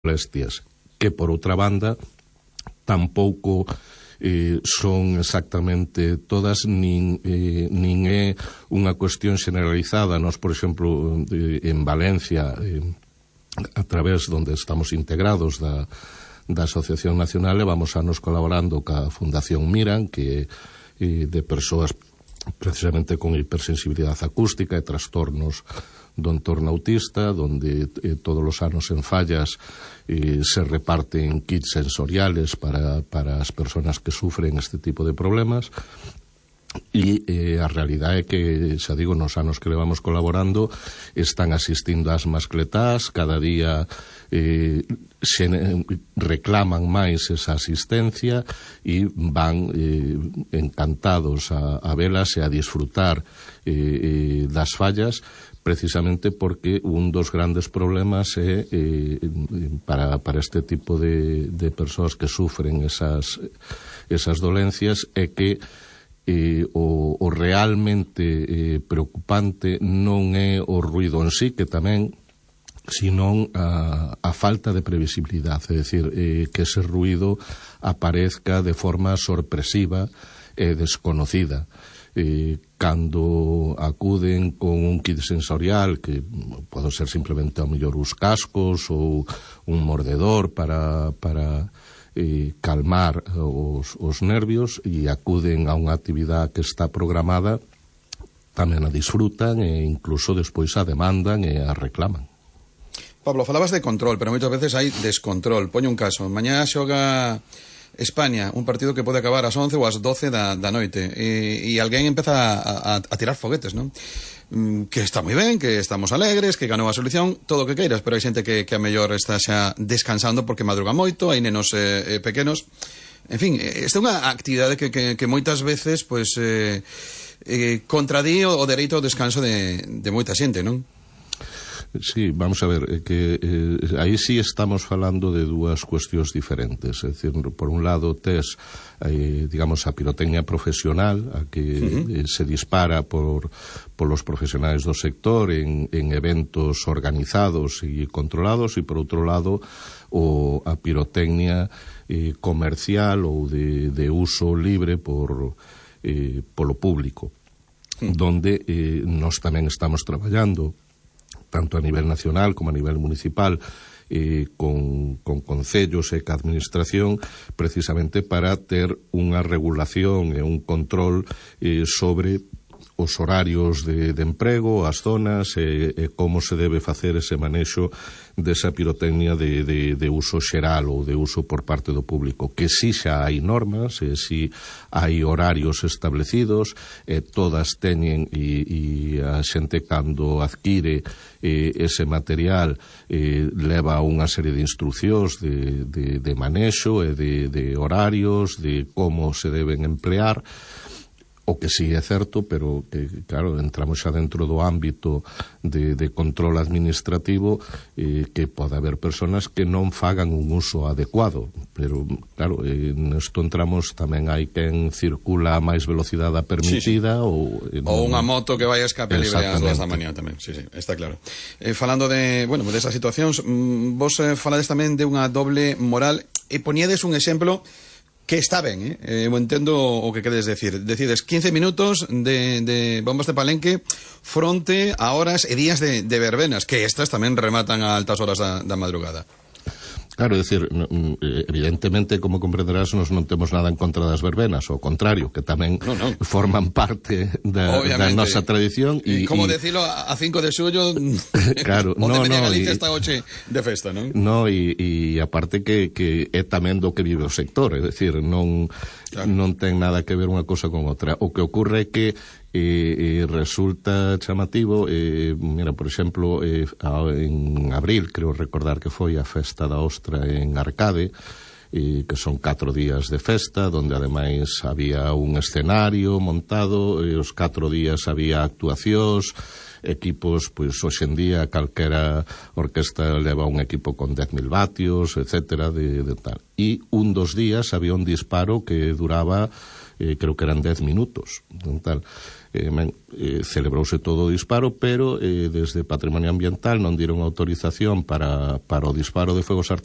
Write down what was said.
molestias, que por outra banda tampouco son exactamente todas, nin é unha cuestión generalizada. Nós, por exemplo, en Valencia, a través donde estamos integrados da Asociación Nacional, levamos anos colaborando ca Fundación Miran, que de persoas precisamente con hipersensibilidade acústica e trastornos do entorno autista, donde todos os anos en Fallas se reparten kits sensoriales para as persoas que sufren este tipo de problemas. E a realidade é que, xa digo, nos anos que levamos colaborando están asistindo ás mascletás, cada día reclaman máis esa asistencia e van encantados a velas e a disfrutar das fallas, precisamente porque un dos grandes problemas é para este tipo de persoas que sufren esas dolencias é que o realmente preocupante non é o ruido en sí, que tamén, senón a falta de previsibilidade, é dicir, que ese ruido aparezca de forma sorpresiva e desconocida. Cando acuden con un kit sensorial, que pode ser simplemente ao mellor os cascos ou un mordedor para calmar os nervios, e acuden a unha actividade que está programada, tamén a disfrutan e incluso despois a demandan e a reclaman. Pablo, falabas de control, pero moitas veces hai descontrol. Poño un caso, mañá xoga España, un partido que pode acabar ás 11 ou ás 12 da noite, e alguén empeza a tirar foguetes, non? Que está moi ben, que estamos alegres, que ganou a selección, todo o que queiras, pero hai xente que a mellor está xa descansando porque madruga moito, hai nenos pequenos. En fin, esta é unha actividade que moitas veces contradí o dereito ao descanso de moita xente, non? Sí, vamos a ver, que aí sí estamos falando de dúas cuestións diferentes. É dicir, por un lado tes, digamos, a pirotecnia profesional, a que se dispara polos profesionais do sector en eventos organizados e controlados, e por outro lado a pirotecnia comercial ou de uso libre polo público, donde nós tamén estamos traballando tanto a nivel nacional como a nivel municipal, con concellos e ca administración, precisamente para ter unha regulación e un control sobre os horarios de emprego, as zonas e como se debe facer ese manexo desa pirotecnia de uso xeral ou de uso por parte do público, que si xa hai normas, si hai horarios establecidos, todas teñen, e a xente cando adquire ese material leva unha serie de instruccións de manexo e de horarios, de como se deben emplear. O que sí é certo, pero que, claro, entramos xa dentro do ámbito de control administrativo, que pode haber personas que non fagan un uso adecuado, pero, claro, nesto entramos, tamén hai quen circula a máis velocidade permitida, ou unha moto que vai a escape libre ás 2 da mañá tamén, sí, está claro. Falando desas situacións, vos falades tamén de unha doble moral, e poñedes un exemplo que está ben, eu entendo o que queres decir. Decides 15 minutos de bombas de palenque fronte a horas e días de verbenas, que estas tamén rematan a altas horas da madrugada. Claro, é dicir, evidentemente, como comprenderás, nos non temos nada en contra das verbenas, ao contrario, que tamén forman parte da nosa tradición. Como decilo, a 5 de xullo, claro, onde venía Galicia esta noche de festa, non? No, e aparte que é tamén do que vive o sector, é dicir, non ten nada que ver unha cosa con outra. O que ocorre é que resulta chamativo, mira, por exemplo, en abril, creo recordar que foi a festa da Ostra en Arcade, que son 4 días de festa, donde ademais había un escenario montado, e os 4 días había actuacións, equipos, pois hoxe en día calquera orquesta leva un equipo con 10.000 vatios, etcétera, de tal. E un dos días había un disparo que duraba, creo que eran 10 minutos, tal. Celebrouse todo o disparo, pero desde Patrimonio Ambiental non dieron autorización para o disparo de fuegos artificiales